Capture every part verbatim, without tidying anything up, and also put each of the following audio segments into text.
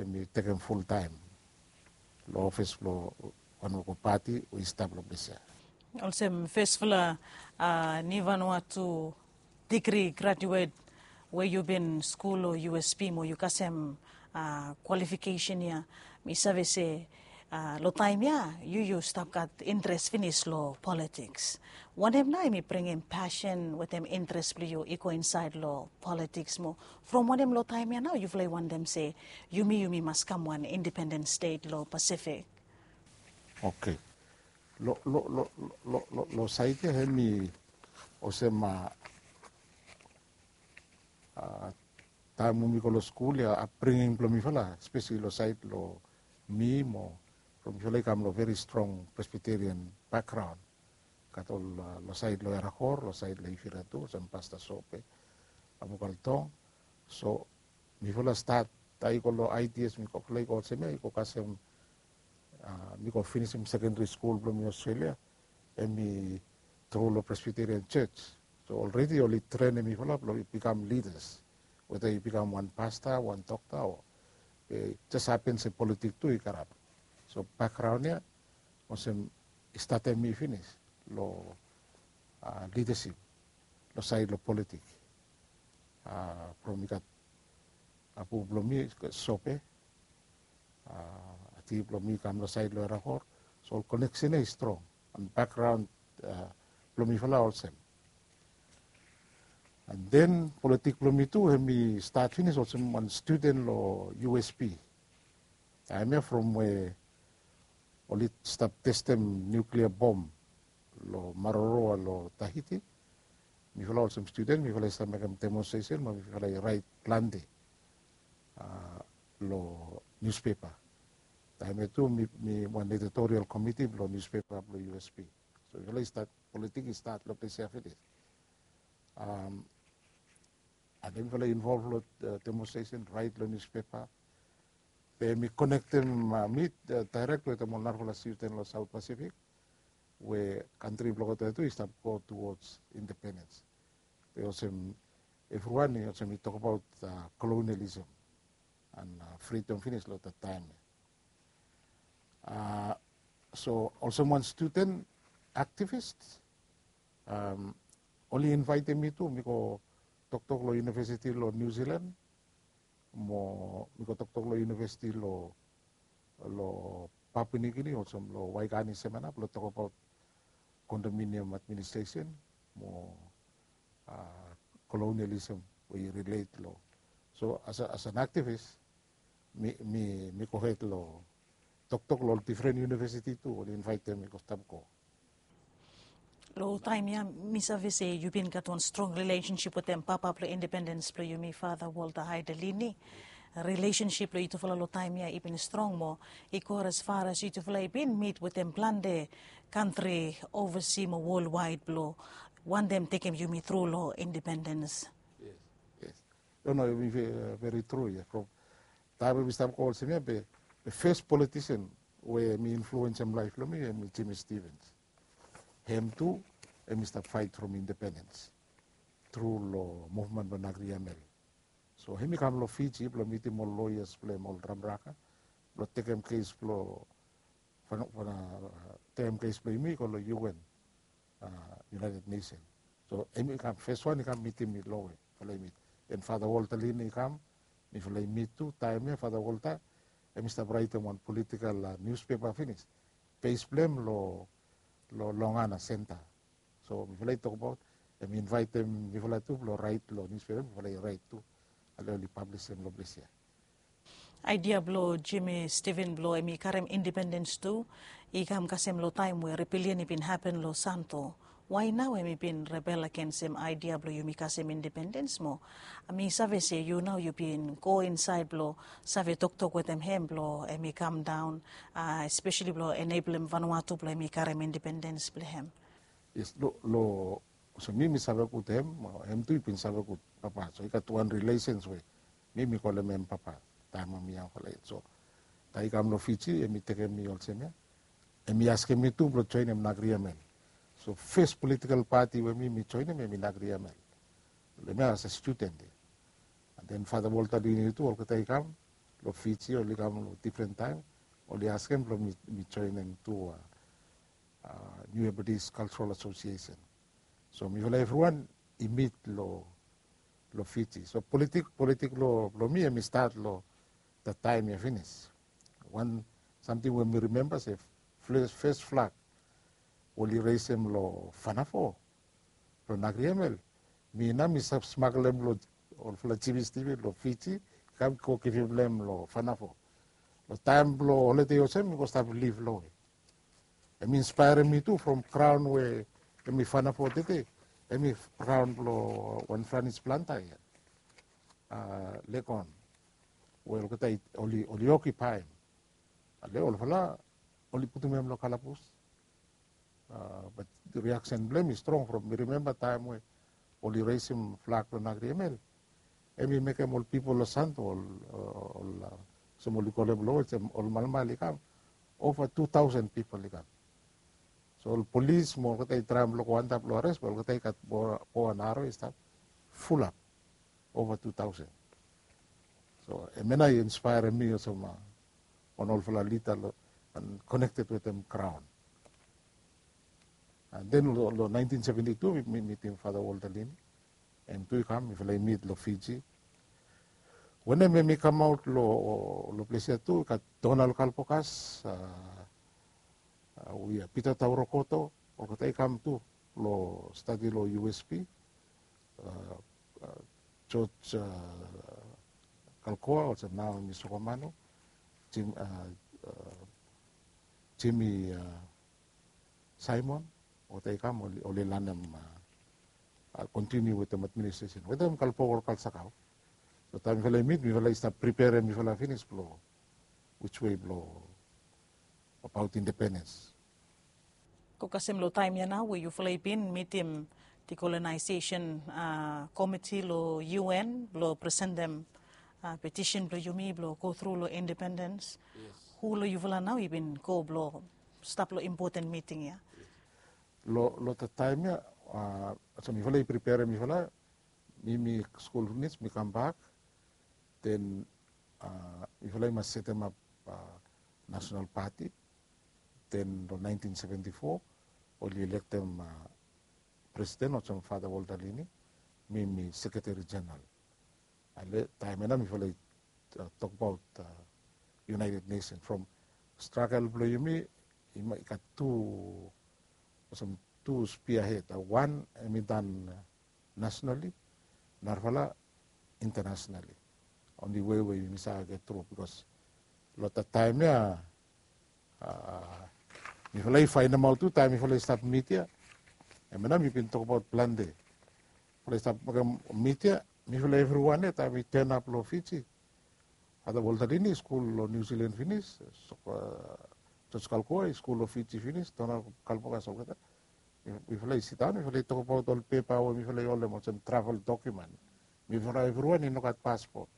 Em i tekem fultaem long ofis blong wanwan pati we i stap long ples ya. Olsem fesfala, a, ni Vanuatu digri graduet we yu bin skul long U S P mo yu kasem, a, kwalifikesen ya, mi save se, a, long taem ya yu yu stap gat interes finis long politiks. Wanem nao em i bringim pasen wetem interes blong yu i go insaed long politiks mo from wanem long taem ya nao yufala i wantem se yumi yumi mas kam wan independen stet long Pasifik? Oke. Long saed ya em i olsem, a, taem we mi go long skul ya, apbringing blong mifala, espeseli long saed long mi mo from mifala i kam long veri strong Presbyterian bakgraon. Gat ol, a, long saed long Erakor, long saed long Ifiria tu, olsem Pasta Sope, Abukaltong. So mifala stat, taem i go long I T S, mifala i go olsem ya, i go kasem, a, mi go finisim sekendari skul blong mi Australia, em i tru long Presbyterian Church. So olredi oli trenem mifala blong i bikam lidas, weta i bikam wan pasta, wan dokta, o, e, jes hapen se politik tu i karap. So bakgraon ya olsem i statem mi finis long, a, lidasip long saed long politik. A, from i gat apu blong mi Sope, a, ati blong mi kam long saed long Erakor. So ol koneksen ya i strong. An bakgraon, a, blong mifala olsem. An den politik blong mi tu em i stat finis olsem wan studen long U S P. Taem ya from we oli stap testem niuklia bom long Maroroa long Tahiti, mifala olsem studen mifala i stap mekem demonstresen mo mifala i raet plante, a, long niuspepa. Taem ya tu mi, mi wan editorial komiti blong niuspepa blong U S P. So mifala i stat, politik i stat long ples ya finis. Am, a, taem mifala i involv long, a, demonstresen, raet long niuspepa, be mi konektem, a, mi, a, daerek wetem ol narafala studen long Saot Pasifik we kantri blong olgeta tu i stap go tuwods independens. Be olsem evriwan i olsem i tokbaot, a, kolonialism an, a, fridom finis long dat taem ya. A, so olsem wan studen aktivis, am, oli invaetem mi tu mi go toktok long univesiti long Niu Silan mo mi go toktok long univesiti long, long Papua Niu Gini, olsem long Waigani Semena blong tokbaot kondominiam administresen mo, a, kolonialism we i rilet long. So as a, as an aktivis, mi, mi, mi gohed long toktok long ol difren univesiti tu oli invaetem mi go stap go. Long taem ya mi save se yu bin gat wan strong rilesensip wetem papa blong independens blong yumi, Fata Walter Haidelini. Rilesensip blong yutufala long taem ya i bin strong mo i go as far as yutufala i bin mit wetem plante kantri ovasi mo wolwaed blong wantem tekem yumi tru long independens. Yes. Yes. No, no, i veri tru ya. From taem we mi stap go olsem ya, be, be fes politisen we mi influensem laef blong mi em i Jimmy Stevens. Hem tu em i stap faet from independens tru long muvmen blong Nagri Amel. So hem i kam long Fiji blong mitim ol loyas blong hem, ol Ramraka, blong tekem kes blong, fana, fana, tekem kes blong yumi i go long U N, a, United Nation. So hem i kam, fes wan i kam mitim mi long we mifala i mit. Den Fata Walter Lini i kam, mifala i mit tu. Taem ya Fata Walter hem i stap raetem wan politikal, a, niuspepa finis. Bes blong hem long, long Longana Senta. So mifala i tokbaot, hem i invaetem mifala tu blong raet long niuspepa, mifala i raet tu. Ale oli pablisem long ples ya. Aedia blong Jimmy Stevens blong hem i karem independens tu i kam kasem long taem we rebelian i bin hapen long Santo. Wae nao hem i bin rebel agensem aedia blong yumi kasem independens mo mi save se yu nao yu bin go insaed blong save toktok wetem hem blong hem i kamdaon, a, espeseli blong eneblem Vanuatu blong hem i karem independens blong hem? Yes, long, long, olsem mi, mi save gud hem, mo hem tu i bin save gud papa. So i gat wan rilesens we mi, mi kolem hem papa taem we mi yangfala yet. So taem i kam long Fiji hem i tekem mi olsem ya, hem i askem mi tu blong joenem Nagri Amel. So fes politikal pati we mi, mi joenem hem i Nagri Amel. Long hem ya as a studen ya. An den Fata Walter Lini tu olgeta i kam, long Fiji, oli kam long difren taem, oli askem blong mi joenem tu New Hebrides Cultural Association. So mifala evriwan i mit long Fiji. So politik politik blong mi em i stat long dat taem ya finis. Wan samting we mi rimemba se fes flag oli resem long Fanafo, long Nagriemel, mi nao mi save smaglem long olfala jibis tivi long Fiji, kam go givim long em long Fanafo. Long taem blong holide olsem mi go stap liv long we em i inspaerem mi tu from graon we em i Fanafo tede, em i graon blong wan Franis planta ya, Legon, we olgeta oli okipaem. Ale olfala oli putum em long kalabus. Bat riaksen blong em i strong from mi rimemba taem we oli resim flag long Nagriemel, em i mekem ol pipol long Santo, olsem oli kolem long we olsem ol malmal i kam, ova tu taosen pipol i kam. So ol polis mo olgeta i traem blong go antap long ares, be olgeta i gat bo an aro i stap fulap ova tu taosen. So hemia nao i inspaerem mi olsem wan olfala lida long, an konekted wetem graon. An den long naentin seventi tu mi mitim Fata Walter Lini. Em tu i kam, mifala i mit long Fiji. Wanem em i kamaot long ples ya tu i gat Donald Kalpokas, we Pita Taurokoto, olgeta i kam tu long stadi long U S P. George Kalkoa olsem nao em i Sokomanu, Jimmy Simon, olgeta i kam oli lanem, kontiniu wetem administresen wetem Kalpoka ol kalsakao. So taem mifala i mit mifala i stap priperem mifala finis blong wiswe blong abaot independens. Go kasem long taem ya nao we yufala i bin mitim dikolonaesesen komiti long U N blong presentem petisen blong yumi blong go tru long independens. Hu long yufala nao i bin go blong stap long impoten miting ya? Long dat taem ya, olsem mifala i priperem mifala, mi mi skul finis mi kambak, den mifala i mas setemap nasonal pati. Den long naentin seventi fo oli elektem presiden olsem Fata Walter Lini, mi mi sekreteri jeneral. Ale taem ya nao mifala i tokbaot United Nesen from stragel blong yumi i gat tu, olsem tu spia hed, wan em i dan nasonali, narafala intanasonali. Onli wei we yumi save get tru bikos long dat taem ya mifala i faenemaot tu taem mifala i stap mit ya. Hemia nao mi bin tokbaot plante. Mifala i stap mekem mit ya, mifala evriwan ya taem i tenap long Fiji. Fata Walter Lini i skul long Niu Silan finis, George Kalkoa i skul long Fiji finis, Donald Kalpokas olgeta. Mifala i sidaon mifala i tokbaot ol pepa we mifala i holem olsem travel dokumen. Mifala evriwan i no gat paspot.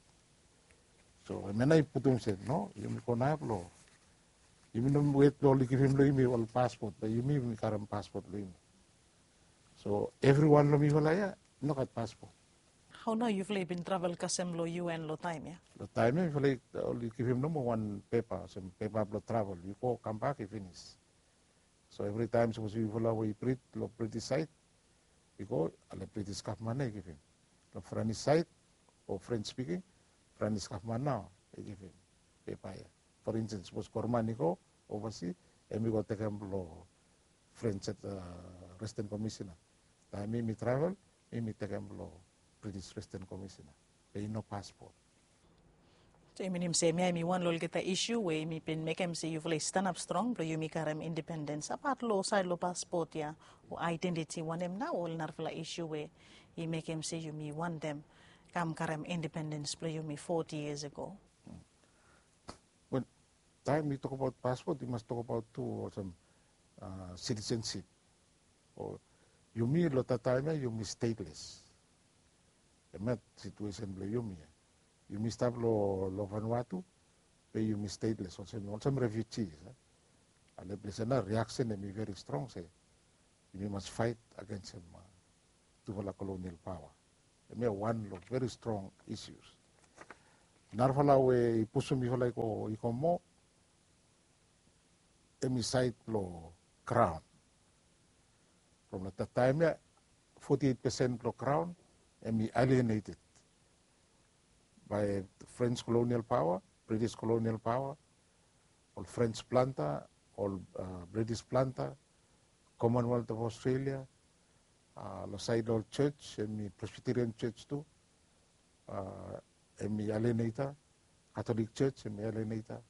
So hemia nao i putum se no, yumi go nao blong yumi no wet blong oli givim long yumi ol paspot, be yumi yumi karem paspot long yumi. So evriwan long mifala ya i no gat paspot. Hao nao yufala i bin travel kasem long U N long taem ya? Long taem ya mifala oli givim nomo wan pepa olsem pepa blong travel, yu go kambak i finis. So evritaem sapos yufala we i brit long British saed i go, ale British gavman nao i givim. Long Franis saed o French spiking, Franis gavman nao i givim pepa ya. For instance sapos Gorman i go ovasi, em i go tekem long French Resident Commissioner. Taem mi mi travel, mi mi tekem long British Resident Commissioner. Be i no paspot. So i minim se hemia hemi wan long olgeta isu we yumi bin mekem se yufala i stanap strong blong yumi karem independens, apat long saed long paspot ya o aedentiti, wanem nao ol narafala isu we i mekem se yumi wantem kam karem independens blong yumi foti yias ago? Wel, taem yu tokbaot paspot yu mas tokbaot tu olsem sitisensip. Yumi long dat taem ya yumi steteles. Hemia situesen blong yumi ya. Yumi stap long Vanuatu, be yumi steteles olsem refiuji. Ale ples ya nao riaksen hemi veri strong se yumi mas faet agensem tufala kolonial paoa. Hemia wan long veri strong isius. Narafala we i pusum mifala i go i go moa, hemi saed blong graon. From long taem ya, forty eight percent blong graon hemi alienated by French colonial power, British colonial power, ol French planta, ol British planta, Commonwealth of Australia, long saed long ol church, hemi Presbyterian church tu, hemi alienated, Catholic church hemi alienated,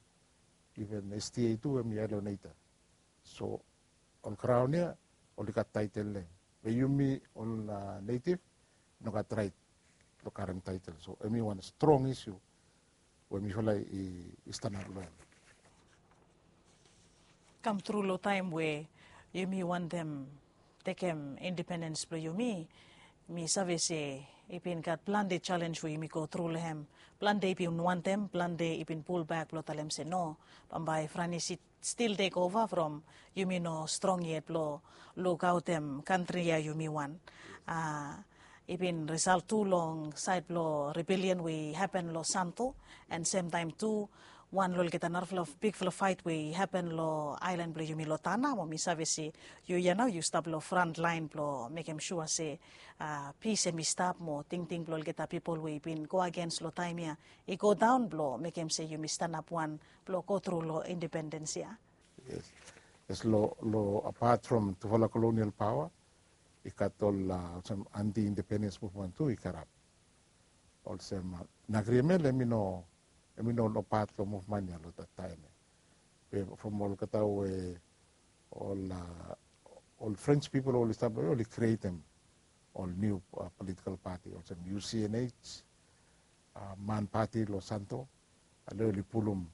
even SDA tu hemi alienated. So ol graon ya oli gat taetel long hem. Be yumi ol native i no gat raet blong karem taetel. So hemi wan strong issue we mifala i stanap long hem. Kamtru long taem we yumi wantem tekem independens blong yumi, mi save se i bin gat plante jalenj we yumi go tru long hem. Plante i bin wantem, plante i bin pulbak blong talem se no, bambae Franis i stil tekova from yumi no strong yet blong lukaotem kantri ya yumi wan. I bin risalt tu long saed blong rebelian we i hapen long Santo, and semtaem tu wan long olgeta narafala bigfala faet we i hapen long aelan blong yumi long Tanna, mo mi save se yu ya nao yu stap long frantlaen blong mekem sua se pis hemi stap mo tingting blong olgeta pipol we i bin go agens long taem ya i go daon blong mekem se yumi stanap wan blong go tru long independens ya. Yes, long apat from tufala kolonial paoa i gat ol olsem anti-independens muvman tu i karap. Olsem Nagriemel hemi no, hemi no ol pat long muvman ya long dat taem ya. Be from olgeta we ol ol French pipol oli stap long ya oli krietem ol niu politikal pati olsem UCNH, MAN pati long Santo. Ale oli pulum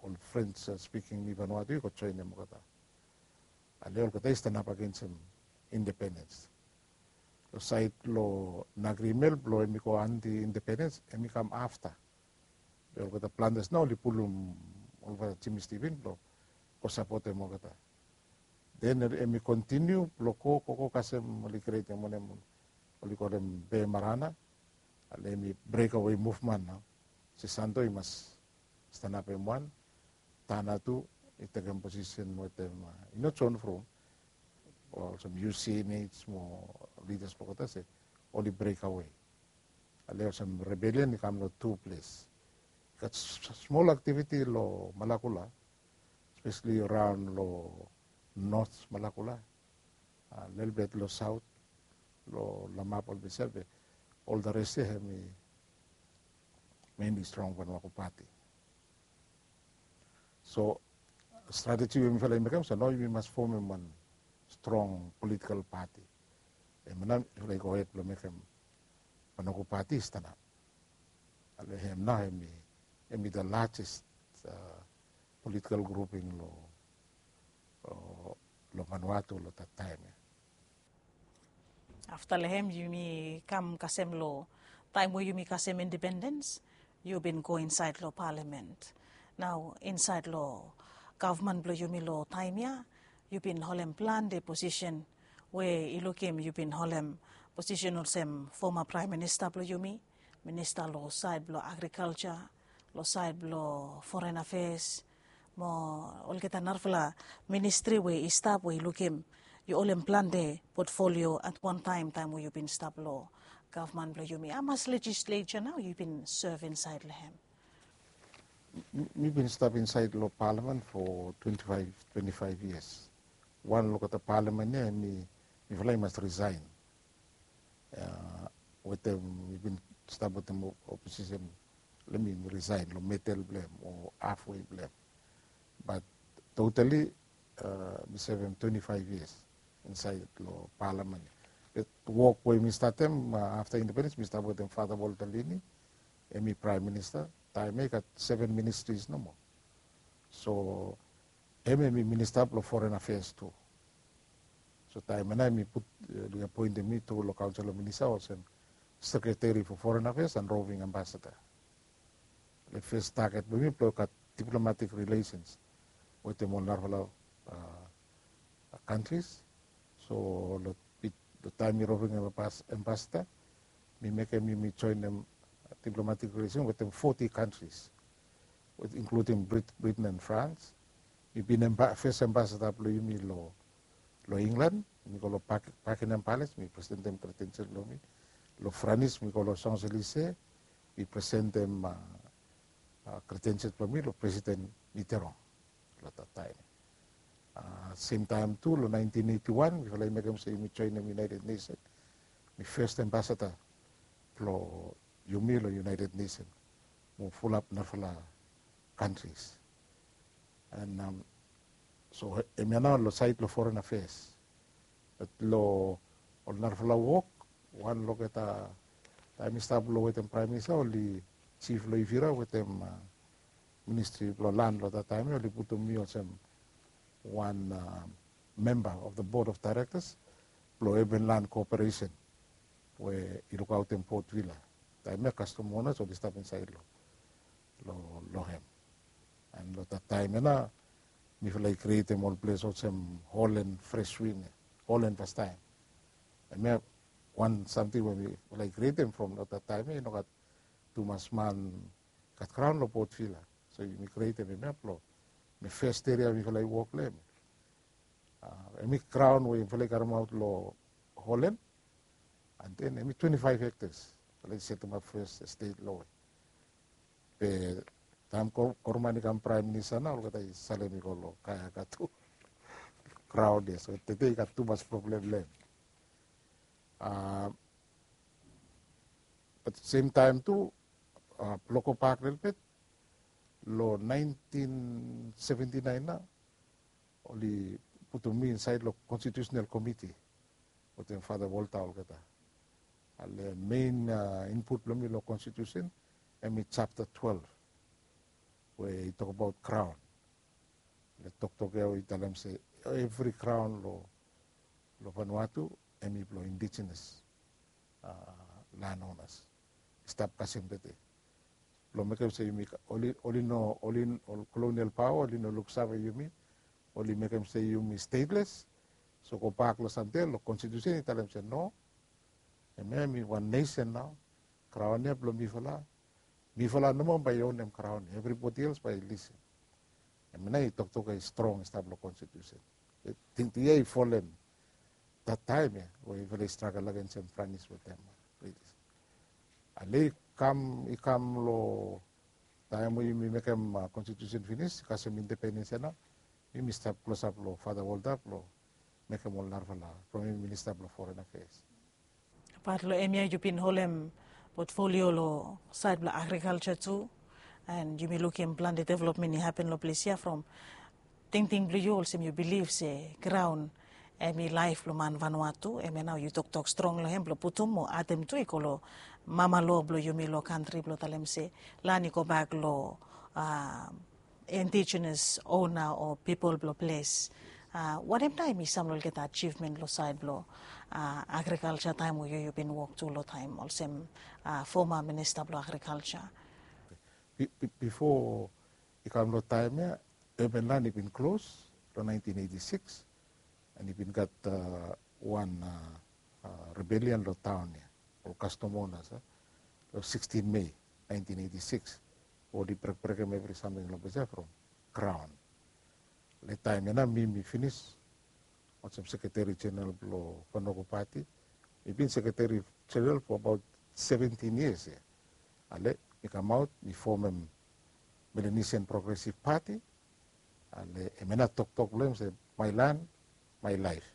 ol French spiking ni Vanuatu i go joenem olgeta. Ale olgeta i stanap agensem independens. Long saed long Nagriemel blong hemi go anti-independens hemi kam afta. Be olgeta plantas nao oli pulum olgeta Jimmy Stephen blong go sapotem olgeta. Den hemi kontiniu blong go gogo kasem oli krietem wanem oli kolem Be Marana. Ale hemi breakawe muvman nao. Se Santo i mas stanapem wan, Tanna tu i tekem posisen wetem i no John Frum, olsem UCNH mo lidas blong olgeta se oli breakawe. Ale olsem rebelian i kam long tu ples. I gat smol aktiviti long Malakula, spesali raon long North Malakula, lelebet long Saot, long Lamap ol ples ya be ol dares ya hemi mainly strong Vanuatu pati. So strateji we mifala i mekem so nao yumi mas fomem wan strong politikal pati. Hemia nao mifala i gohed blong mekem Vanuatu pati i stanap. Ale hem nao hemi, hemi the largest politikal grouping long long Vanuatu long dat taem ya. Afta long hem yumi kam kasem long taem we yumi kasem independens, yu bin go insaed long palamen. Nao insaed long gavman blong yumi long taem ya yu bin holem plante posisen we i lukim yu bin holem posisen olsem foma praem minista blong yumi, minista long saed blong agrikalja, long saed blong foren afeas, mo olgeta narafala ministri we i stap we i lukim yu holem plante potfolio at wan taem taem we yu bin stap long gavman blong yumi. Hamas lejisleja nao yu bin sev insaed long hem? Mi bin stap insaed long palamen fo twenti faef, twenti faef yias. Wan long olgeta palamen ya hemi mifala i mas risaen. Wetem mi bin stap wetem oposisen, let mi risaen long medel blong hem o hafwe blong hem. Bat totali mi sevem twenti faef yias insaed long palamen. Be wok we mi statem afta independens mi stap wetem Fata Walter Lini, hemi praem minista. Taem ya i gat seven ministries nomo. So hem hemi minista blong foren afeas tu. So taem ya nao hemi put, hemi apoentem mi tu long kaonsel of minista olsem sekreteri fo foren afeas and roving ambasada. Long fes taget blong mi blong gat diplomatik rilesens wetem ol narafala kantris. So long taem mi roving ambasada mi mekem yumi joenem diplomatik relesen wetem foti kantris, inkluding Britain and France. Mi bin fes ambasada blong yumi long England, mi go long Buckingham Palace, mi presentem kredensial blong mi. Long Franis mi go long Champs-Élysées, mi presentem kredensial blong mi long Presiden Mitterrand long dat taem. Semtaem tu long naentin eiti wan mifala i mekem se yumi joenem United Nation. Mi fes ambasada blong yumi long United Nation mo fulap narafala kantris. And so hemia nao long saed long foren afeas. Bat long ol narafala wok, wan olgeta taem mi stap long wetem Praem Minista, oli Jif Loifira wetem Ministri blong Lan long dat taem ya oli putum mi olsem wan memba of the Board of Directors blong Urban Land Corporation we i lukaotem Port Vila. Taem ya kastom onas oli stap insaed long hem. And long dat taem ya nao mifala i krietem ol ples olsem Holland Fresh Wind ya, Holland fastaem. Hemia wan samting we mifala i krietem from long dat taem ya i no gat tumas man gat graon long Port Vila. So yumi krietem hemia blong hemi fes eria mifala i wok long hem. Hemi graon we yufala i karemaot long Holland, and then hemi twenti faef hektas. Mifala i setemap fes estet long we. Be taem Koroman i kam Praem Minista nao olgeta i salem i go long Kayaka tu. Graon ya, so tede i gat tumas problem long hem. Bat semtaem tu blong gobak lelebet, long naentin seventi naen nao oli putum mi insaed long Konstitiusenal Komiti wetem Fata Volta olgeta. Ale mein input blong mi long konstitiusen hemi japta twelef we i tokbaot graon. Le toktok ya i talem se evri graon long Vanuatu hemi blong indigenous landowners i stap kasem tede. Blong mekem se yumi oli no, oli ol kolonial paoa oli no luksave yumi, oli mekem se yumi stateless. So gobak long samting ya long konstitiusen i talem se no, hemia hemi wan nesen nao. Graon ya blong mifala. Mifala nomo bae i onem graon ya, evribodi els bae i lisem. Hemia nao i toktok ya i strong i stap long konstitiusen. Tingting ya i folem dat taem ya we yufala i stragel agensem Franis wetem British. Ale i kam, i kam long taem we yumi mekem konstitiusen finis, kasem independens ya nao yumi stap klosap long Fata Volta blong mekem ol narafala from hemi minista blong foren afeas. Apat long hemia yu bin holem potfolio long saed blong agrikalja tu, and yumi lukim plante developmen i hapen long ples ya from tingting blong yu olsem yu bilif se graon hemi laef blong man Vanuatu. Hemia nao yu toktok strong long hem blong putum mo adem tu i go long mama loa blong yumi long kantri blong talem se lan i gobak long indigenous ona o pipol blong ples. Wanem nao hemi sam long olgeta ajivmen long saed blong agrikalja taem we yu yu bin wok tu long taem olsem foma minista blong agrikalja? Bifo i kam long taem ya, urban land i bin klos long naentin eiti sikis, and i bin gat wan rebelian long taon ya, ol kastom onas, long sikstin Mei naentin eiti sikis, oli brekbrekem evri samting long ples ya from graon. Le taem ya nao mi mi finis olsem sekreteri jeneral blong Vanuatu Pati. Mi bin sekreteri jeneral for abaot seventin yias ya. Ale mi kamaot mi fomem Melanesian Progressive Party. Ale hemia nao toktok blong hem se my land, my life.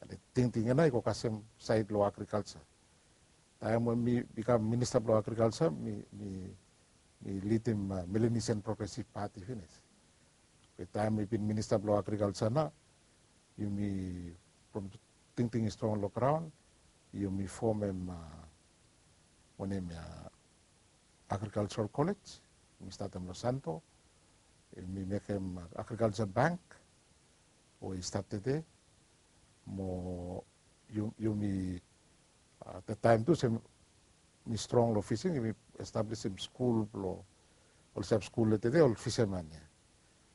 Ale tingting ya nao i go kasem saed long agrikalja. Taem we mi bikam minista blong agrikalja mi, mi, mi lidim Melanesian Progressive Party finis. Be taem mi bin minista blong agrikalja nao, yumi, from tingting i strong long graon, yumi fomem wanem ya, agrikaljaral kolej. Yumi statem long Santo. Yumi mekem agrikalja bank we i stap tede. Mo yumi, dat taem tu se mi strong long fising, yumi establisim skul blong ol sab skul long tede ol fisaman ya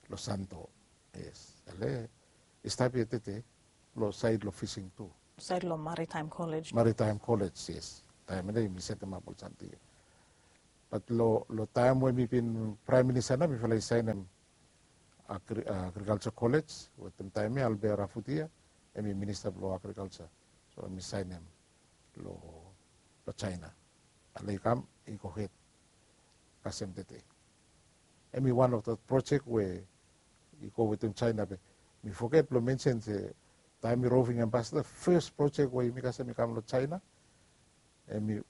long Santo. Yes, ale i stap ya tede long saed long fising tu. Saed long Maritaem Kolej. Maritaem Kolej, yes. Taem ya nao yumi setemap ol samting ya. Bat long taem we mi bin praem minista nao mifala i saenem agrikalsa kolej wetem taem ya albea rafutia, em i minista blong agrikalsa. So em i saenem long jaena. Ale i kam i gohed kasem tete. Em i wan of dat projek we i go wetem jaena be mi foget blong mensen se taem mi roving ambasada fes projek we yumi kasem i kam long jaena, em i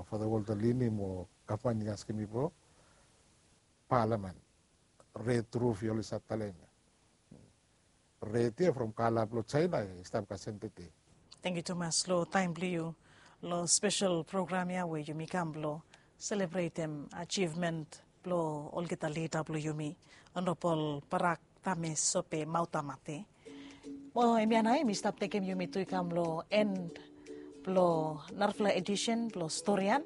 fada walta lini mo gavman i askem mi blong palamen. Red ruf i oli save talem ya. Red ya from kala blong jaena i stap kasem tete. Tangkiu tumas long taem blong yu long spesel program ya we yumi kam blong selebretem ajivmen blong olgeta lida blong yumi, onrabol barak tame sope mauta mate. Mo em ya nao em i stap tekem yumi tu i kam long en blong narafala edisen blong storian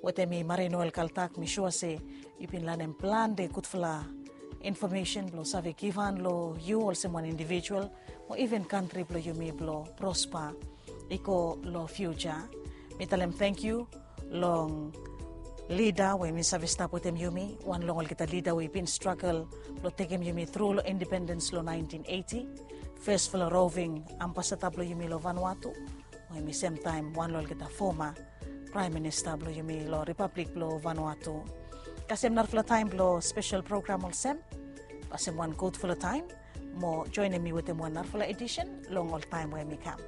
wetem mi marinoel kaltak mi sua se yu bin lanem plante gudfala infomesen blong save givhan long yu olsem wan indivijual mo iven kantri blong yumi blong prospa i go long fiuja. Mi talem tangkiu long lida we mi save stap wetem yumi, wan long olgeta lida we i bin stragel blong tekem yumi tru long independens long naentin eiti, fesfala roving ambasada blong yumi long vanua tu, we em i semtaem wan long olgeta foma praem minista blong yumi long ripablik blong vanua tu. Kasem narafala taem blong spesel program olsem, kasem wan gudfala taem mo joenem mi wetem wan narafala edisen long ol taem we em i kam.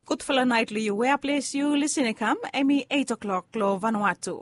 Gudfala naet long yu wea ples yu lisin i kam em i eit o'klok long vanua tu.